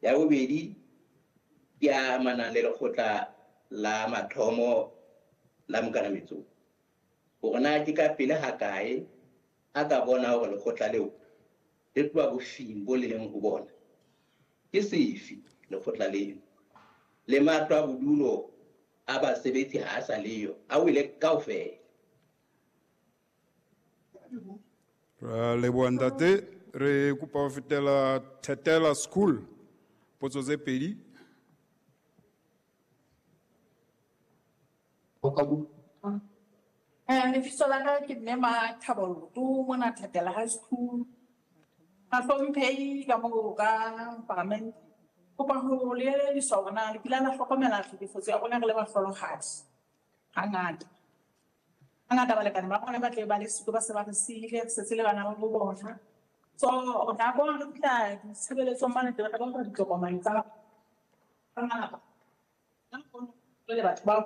Ya bobedi ke a amanang le lekgotla la mathomo la Mokanametsong. Hore na ke ka pele hakae a ka bona hore lekgotla leo le tloha bofing bo le leng ho bona. Ke sefe lekgotla leo? Le matlo a bodulo a basebetsi ha a sa leyo, a wele kaofela. Ra leboha ntate, re kopa ho fetela Thetela School. Potso tse pedi. Lebitso la ka ke Mme Mathabo Loto mona Thetela High School. Bahlomphehi ka moo ka parliament. Kopa ho le elelliswa hore na le kile la hlokomela tlhekefetso ya rona re le bahlolohadi hangata. Hangata balekane ba rona ba tle ba le siko ba se ba re siile, re setse le bana ba bo bona. So nako re fihla ditshebeletsong mane teng re bona ditokomane tsa malapa. Jwale batho bao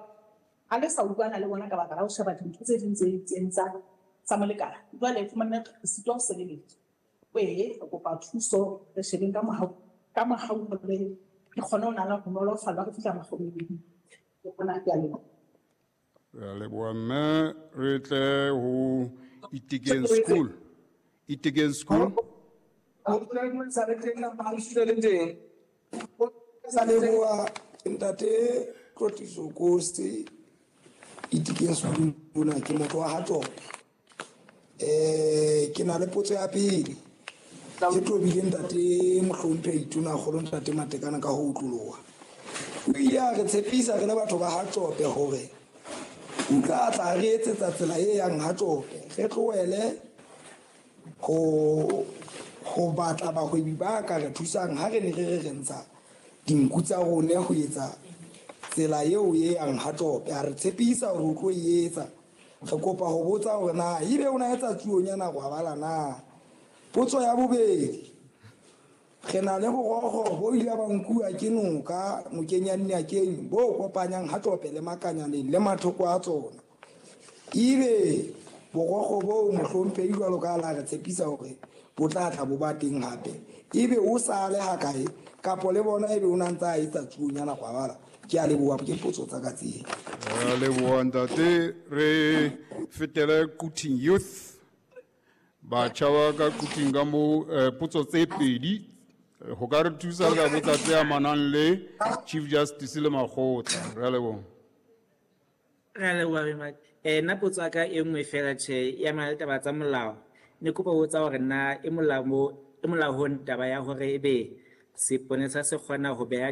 ha le sa utlwana le bona ka baka la ho sheba dintho tse ding tse itseng tsa molekane. Jwale fumane re sitwa ho sebeletswa. Ee, re kopa thuso re shebeng ka mohau ka mohau hore re kgone ho nana ho nolofallwa re fihla makgobeng. Ke bona ke a leboha. Re a leboha mme re tle ho Itekeng School. Itekeng School. Sa leboha ntate Tlotliso Kosi Itekeng School mona ke motho wa Hatsope. Ke na le potso ya pele e tobile ntate mohlomphehi Tonakgolo ntate Matekane ka ho utloloha. O ile a re tshepisa re le batho ba Hatsope hore o tla tla re etsetsa tsela e yang Hatsope, re tlohele ho batla bahwebi ba ka re thusang ha re ne re re re ntsha dinku tsa rona ho etsa tsela eo e yang Hatsope. A re tshepisa hore o tlo e etsa. Re kopa ho botsa hore na ebe o na etsa tsuonyana gwabala na. Potso ya bobedi, re na le borokgo bo ile ba nkuwa ke noka nokeng ya Nnyakeng bo kopanyang Hatsope le Makanyaneng le mathoko a tsona. Ebe borokgo bo mohlomphehi jwalo ka la re tshepisa hore bo tla tla bo ba teng hape, ebe o sa le hakae kapo le bona ebe o na ntse a etsa tsuonyana gwabala? Ke a leboha, ke potso tsa ka tseo. Re a leboha ntate, re fetele Quthing Youth. Batjha ba ka Quthing ka moo, potso tse pedi ho ka re thusa ka botsa tse amanang le Chief Justice le makgotla. Re a leboha. Re a leboha Bemadi. Nna potso ya ka e nngwe fela tjhe e amana le taba tsa molao. Ne kopa ho botsa hore na e molaong taba ya hore ebe seponesa se kgona ho beha